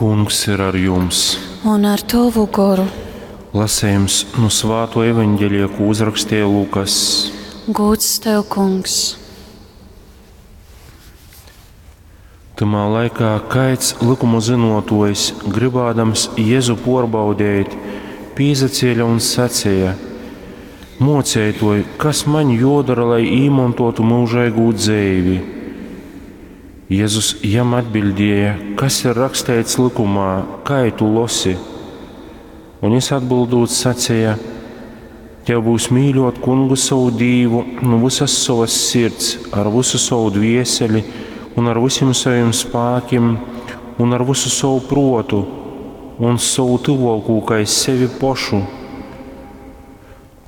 Kungs ir ar jums! Un ar tovu goru. Lasējums nu Svāto evaņģelija, ko uzrakstīja Lukas. Gūds tev, Kungs! Tymā laikā kaids likumu zynuotuojs, gribādams Jezu puorbaudeit, pīzacēle un saceja: Muoceituoj, kas maņ juodora, lai īmontuotu myužeigū dzeivi? Jezus jam atbiļdēja: Kas ir raksteits likumā, kai tu losi? Un jis atbildūt saceja: Tev būs mīļuot Kungu sovu Dīvu nu vysas sovas sirds, ar vysu sovu dvieseli un ar vysim sovim spākim un ar vysu sovu pruotu un sovu tyvuokū kai sevi pošu.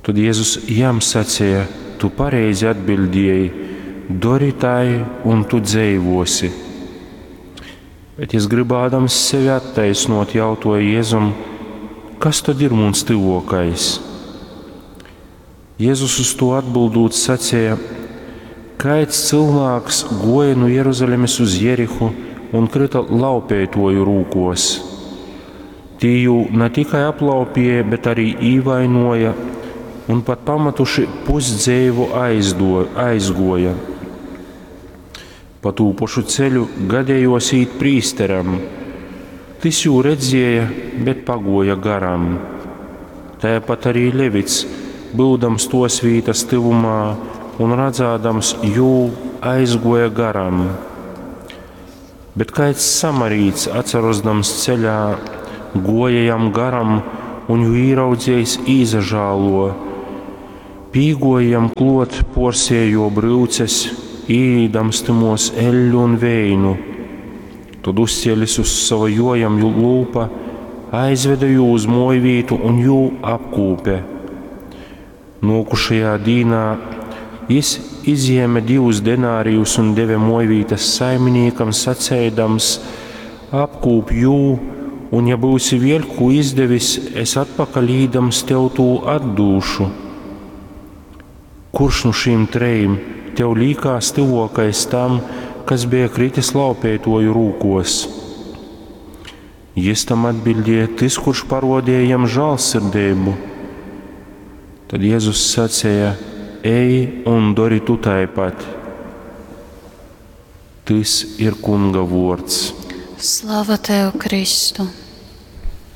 Tod Jezus jam saceja: Tu pareizi atbiļdieji, dori tai, un tu dzeivuosi. Bet jis, grybādams sevi attaisnuot, jautuoja Jezum: Kas tod ir muns tyvuokais? Jezus uz to atbildūt saceja: Kaids cylvāks guoja nu Jeruzalemes uz Jerihu un kryta laupeituoju rūkuos. Tī jū na tikai aplaupīja, bet arī īvainuoja un pat pamatuši pusdzeivu aizdo, aizguoja. Pa tū pošu ceļu gadējuos īt prīsteram. Tys jū redzēja, bet paguoja garam. Tāpat arī Levits, byudams tos vītas tyvumā un radzādams jū, aizguoja garam. Bet kaids samarīts, atsarosdams ceļā, guoja jam garam un jū īraudzējis īzažālo. Pīguoja jam kluot, puorsēja juo bryuces, īlīdams tymos eļļu un veinu. Tod uzcēlis uz sova jojam lūpa, aizveda jū uz muojvītu un jū apkūpe. Nuokušajā dīnā jis izjēme divus denārijus un deve muojvītas saiminīkam, saceidams: Apkūp jū, un ja būsi vēļ kū izdevis, es atpakaļ īdams tev tū atdūšu. Kurš nu šīm trejim tev līkās tyvuokais tam, kas beja kritis laupeituoju rūkuos? Jis tam atbildēja: Tys, kurš parodēja jam žālsirdeibu. Tad Jēzus saceja: Ej un dori tu taipat. Tys ir Kunga vuords. Slava tev, Kristu!